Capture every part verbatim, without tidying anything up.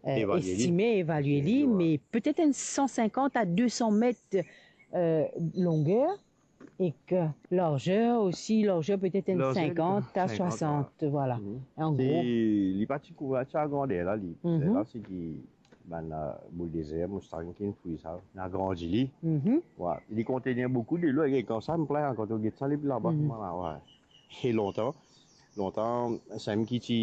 euh, Evalie li. Estime, evalie li, Evalie li, ouais. Me petet enn san sinkant a de san met, euh, longer, ek larzer osi, larzer petet enn sinkant a swasant, voilà. An gro. Li pa ti kouver sa grander la, li. Mhm. La, se ki bann, euh, boul dezer, moustang ki finn fouy sa, inn agrandi li. Mhm. Wi, li kontenir boukou delo, e kan sa, mo plin, kan to get sa, li laba, mhm, kouma la, wi. E lontan, lontan, sa mem ki ti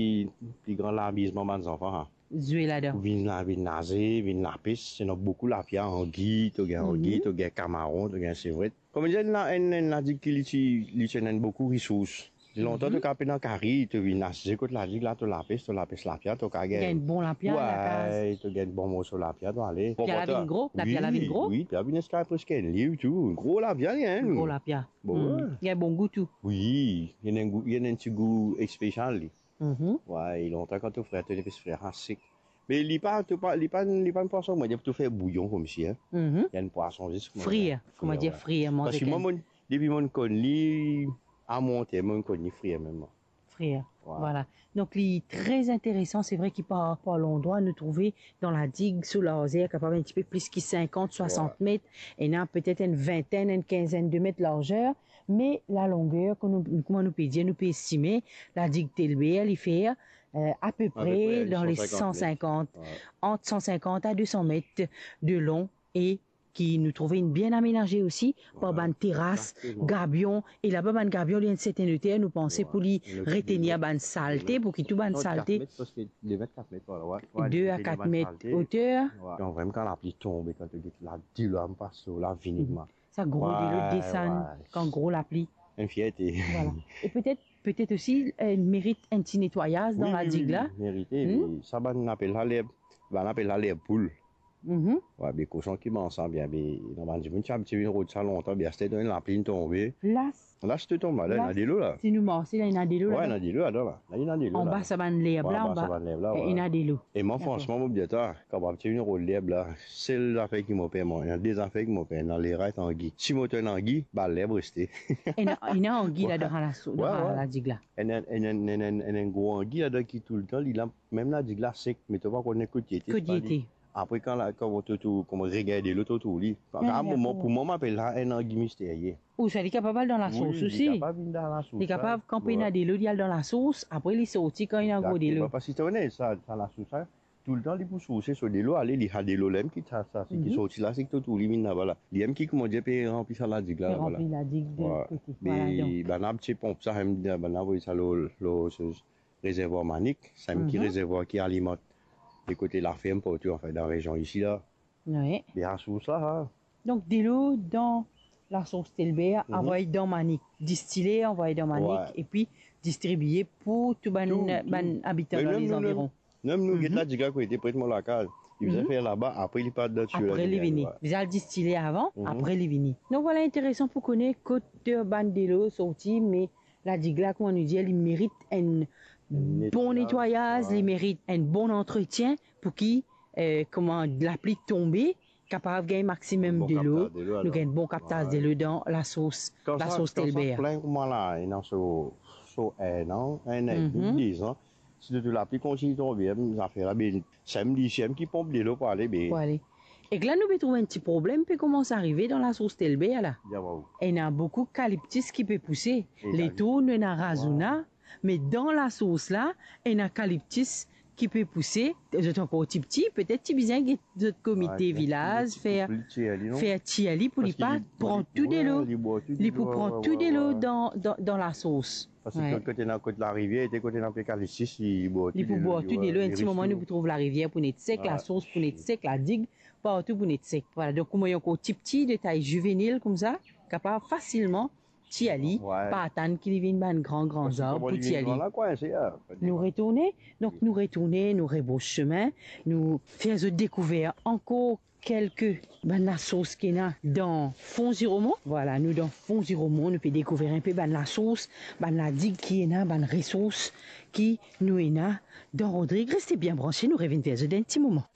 pli gran lamizman bann zanfan, ha. Zwe ladan. Vinn la, vinn naze, vinn lapes, ena boukou lapia, angi, to gagn angi, mhm, to gagn kamaron, to gagn sevret. Kouma dir, enn la, enn, enn ladig ki li ti, li ti ena boukou resours. Lontan, mhm, to kapav pena kari, to vinn asize kot ladig la, to lapes, to lapes lapia, to kapav gagn. Gagn bon lapia, lakaz. Wi, to gagn bon morso lapia, to ale. Lapia la vinn gro, lapia la vinn gro. Wi, wi, lapia vinn ziska preske enn liv tou. Gro lapia li, hein. Gro lapia. Bon, hmm, wi. Li ena bon gou tou. Wi, li ena enn gou, li ena enn ti gou spesial li. Mhm. Wi, lontan kan to frir, to nepes frir, ah, sek. Me li pa, to pa, li pa, li pa enn pwason, mo dir, pou to fer bouyon koumsi, hein. Mhm. Li enn pwason zis kouma frir, frir, kouma dir, wi. Frir, manze. Parski mwa, mo, depi mo konn li, a monte, mo konn li frir mem, mwa. Frir, wi, voilà. Donk, li tre interesan, se vre ki par, par landrwa, nou trouve dan ladig, so larzer, kapav enn tipe plis ki sinkant, swasant met, wi, ena petet enn vintenn, enn kinzenn de met larzer, me lalongrer, kouma nou, kouma nou pe dir, nou pe estime, ladig Telbert, li fer, euh, apepre, apepre dan le san sinkant, wi, ant san sinkant a de san met de lon e ki nou trouve inn bien amenaze osi par, wi, bann teras, egzakteman, gabion, e laba bann gabion, li enn serten loter, nou panse, wi, pou li, wi, retenir bann salte, wi, pou ki tou bann salte. Non, kat met, parski de met, kat met, voilà, wi, wi, de a kat met oter. Wi. Donk, vremem, kan lapli tonbe, kan to get la, dilo la pas lor la, vini, mhm, kouma. Sa gro dilo desann, wi, wi, kan gro lapli. Enn fierte. Voilà. E petet, petet osi, euh, merit enn ti netwayaz dan ladig la. Wi, wi, wi, merite, wi. Sa bann apel la lerb, bann apel la lerb poul. Mhm. Wi, be koson ki manz sa bien, be, ena bann dimoun ti abitie vinn rod sa lontan, be aster donn lapli tonbe. Las. Las tou tonbe, la, ena delo la. Si nou marse la, ena delo la. Wi, ena delo ladan la. La, ena delo la. Anba sa bann lerb la, wi, anba sa bann lerb la, wi, ena delo. E mwa, dakor, fransman, mo dir twa, kan mo ti vinn rod lerb la, sel zafer ki mo per, mwa, ena de zafer ki mo per, ena lera ek angi. Si mo trouv enn angi, ba lerb reste. Ena, ena angi ladan la so-, wi, dan, wi, ladig la. Ena, ena, ena, ena, ena enn gro angi ladan ki toultan, li la, mem ladig la sek, me to pa konn kot li ete. Kot li ete. Apre, kan la, kan to, to, kouma regagn delo, to trouv li. Wi, dakor. Pou mwa, mo apel la enn angi misterie. Ou sa, li kapav al dan lasos osi. Wi, li kapav vinn dan lasos, wi. Li kapav kanpe ena delo, li al dan lasos, apre li sorti kan ena gro delo. Egzakteman, parski to kone sa, sa lasos la, toultan li pou sourse so delo, ale, li al delo la mem ki sa, sa, seki sorti la, seki to trouv li vinn laba la. Li mem ki, kouma dir, pe ranpli sa ladig la, pe ranpli ladig de lot kote. Wi. Voilà, donk. Me bann la ti ponp sa, mem, bann la avoy sa lor, lor, so, rezervwar Manik, sa mem ki rezervwar ki alimant de kote laferm partou, anfin, dan rezion isi la. Wi. Be lasos la, ha. Donk, delo dan lasos Telbert, mhm, anvoy dan Manik, distile, anvoy dan Manik, wi, epi distribie pou tou bann, tou, tou, bann abitan dan lezaviron. Mem nou, mem nou, mem nou, get ladig la kote, pre mo lakaz. Li bizin fer laba, apre li part dan tiyo la. Apre li vini. Wi. Bizin al distile avan, mhm, apre li vini. Donk, voilà, interesan pou kone kot, euh, bann delo sorti, me ladig la, kouma nou dir, li merit enn bon netwayaz, wi, li merit enn bon antretien pou ki, euh, kouma lapli tonbe, kapav gagn maximum delo, enn bon kaptaz delo, alor, nou gagn bon kaptaz delo dan lasos, lasos Telbert. Wi. Kan sa, kan sa plin kouma la, ena so, so enn an, enn an edmi, mhm, dezan, si to trouv lapli kontign tonbe, zafer la, be, sa mem li, sa mem ki ponp delo pou ale, be. Pou ale. Ek la, nou pe trouv enn ti problem pe koumans arive dan lasos Telbert la. Ena boukou kaliptis ki pe pouse. Letour nou ena razona, me dan lasos la, ena kaliptis ki pe pouse. Zot ankor tipti, petet ti bizin get zot komite vilaz, fer, fer tir li pou li pa pran tou delo. Li pou pran tou delo dan, dan, dan lasos. Parski kot, kot ena, kot larivier, kot ena pe kaliptis, li bwar tou delo, li pou bwar tou delo, enn ti moman nou pou trouv larivier pou net sek, lasos pou net sek, ladig, partou pou net sek. Voilà, donk kouma li ankor tipti, detay zivenil koumsa, kapav fasilman tir li, pa atann ki li vinn bann gran, gran zarb pou tir li. Nou retourne, donk nou retourne, nou rebros semin, nou fer zot dekouver ankor kelke bann lasos ki ena dan Fon Ziromon. Voilà, nou dan Fon Ziromon, nou pe dekouver inpe bann lasos, bann ladig ki ena, bann resours ki nou ena dan Rodrig. Reste bien branche, nou revinn ver zot dan enn ti moman.